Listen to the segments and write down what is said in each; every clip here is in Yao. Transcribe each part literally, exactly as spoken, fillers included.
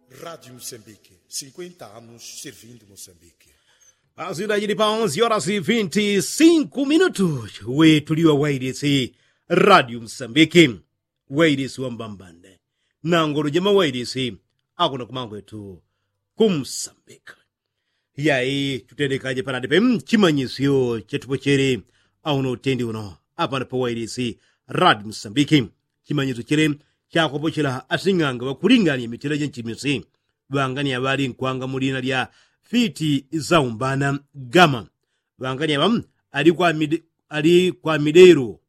Radiu msambiki sinkwenta anus sirvindu mosambiki. Asidajili pa onzi orasi vinti sinku minutu. Wetuliwa wailisi radiu msambiki, wailisi wambambande nangolo jema wailisi akuna kumangwetu kumsambiki. Yai tutelekaje panadipe chimanyisyo chetupochele auno utendi uno apana pawailisi radiu msambiki. Chimanyisyo chele chakopochela asing'anga wakulingania mitela jenchimisi. Ŵangani aŵa ali nkwanga mu lina lya fiti saumbana gama. Ŵangani aŵa ali kwa midero,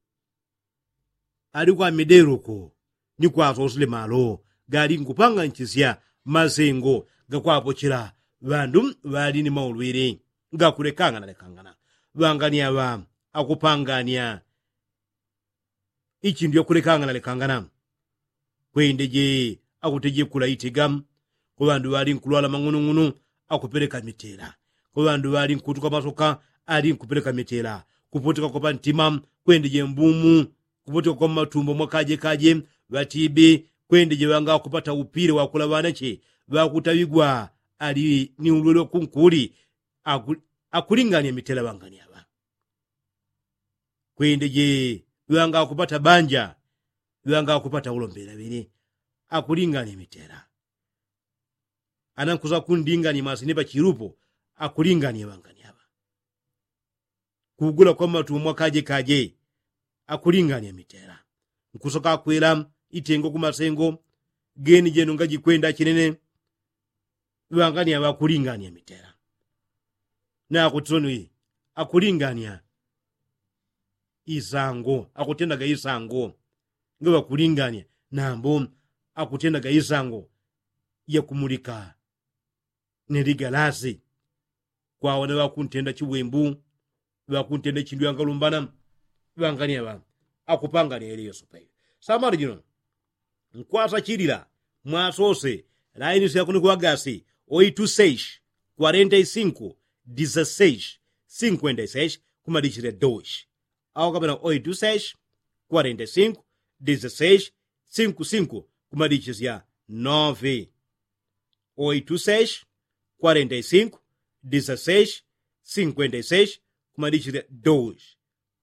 ali kwa midero ko ni kwasosile malo gali nkupanganchisya masengo gakwapochela ŵandu ŵali ni maulwili gakulekangana lekangana. Ŵangani aŵa akupangania ichindu yakulekangana lekangana. Kwendeje akutejekula itega kwa ŵandu ŵali nkulwala mang'unung'unu akupeleka mitela. Kwa ŵandu ŵali nkutuka masoka ali nkupeleka mitela. Kuputika kwa pantima kwendeje mbumu. Kuputika kwa matumbo mwakaje kaje ŵatibi kwendeje ŵanga akupata upile wakula ŵanache ŵakutaŵigwa ali ni ulwele wakunkuli. Akulingania mitela ŵangani aŵa. Kwendeje ŵanga akupata banja ŵanga akupata ulombela ŵene akulingania mitela. Ana nkusa kundingania mwasine pachilupo akulingania ŵangani aŵa. Kugula kwa matumo mwakaje kaje akulingania mitela. Nkusoka akwela itengo kumasengo geni jenu ngajikwenda chinene. Ŵangani aŵa akulingania mitela. Nakutiloni akulingania isango akutendaga isango. Ngaŵakulingania nambo akutendaga isango yakumulika ni ligalasi. Kwaona ŵakuntenda chiwembu ŵakuntenda chindu yangalumbana. Ŵangania ŵa akupangania ili yosopa ili. Samali jino nkwasachilila mwasose laini syakunikuŵagasi oitu seis kwarenta i sinku disaseis sinkwenta i seis kumadichilila dois. Au kapena oitu seis kwarenta i sinku disaseis sinku sinku kumadichilila nove. Oitu seis kwarenta i sinku disaseis sinkwenta i seis kumadichilila dois.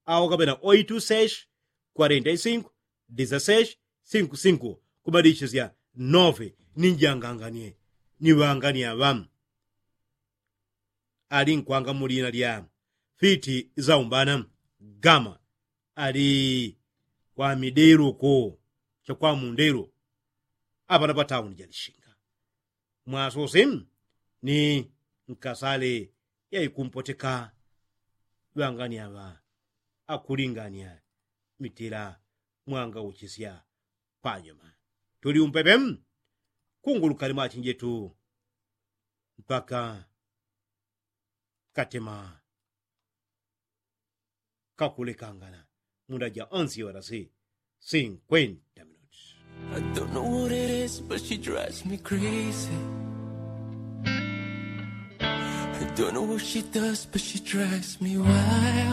Au kapena oitu seis kwarenta i sinku disaseis sinku sinku kumadichilila nove. Ninjanganganie ni ŵangani aŵa ali nkwanga mu lina lya fiti saumbana gama ali kwa midero ko chakwa mundero. Apana patauni jalishinga mwasose ni nkasale yaikumpoteka. Ŵangani aŵa akulingania mitela mwangauchisya panyuma. Tuli umpepe kungulukani mwachinjetu mpaka katema kakulekangana munda ja onsi orasi sinkwenta minuti. I don't know what it is, but she drives me crazy. I don't know what she does, but she drives me wild.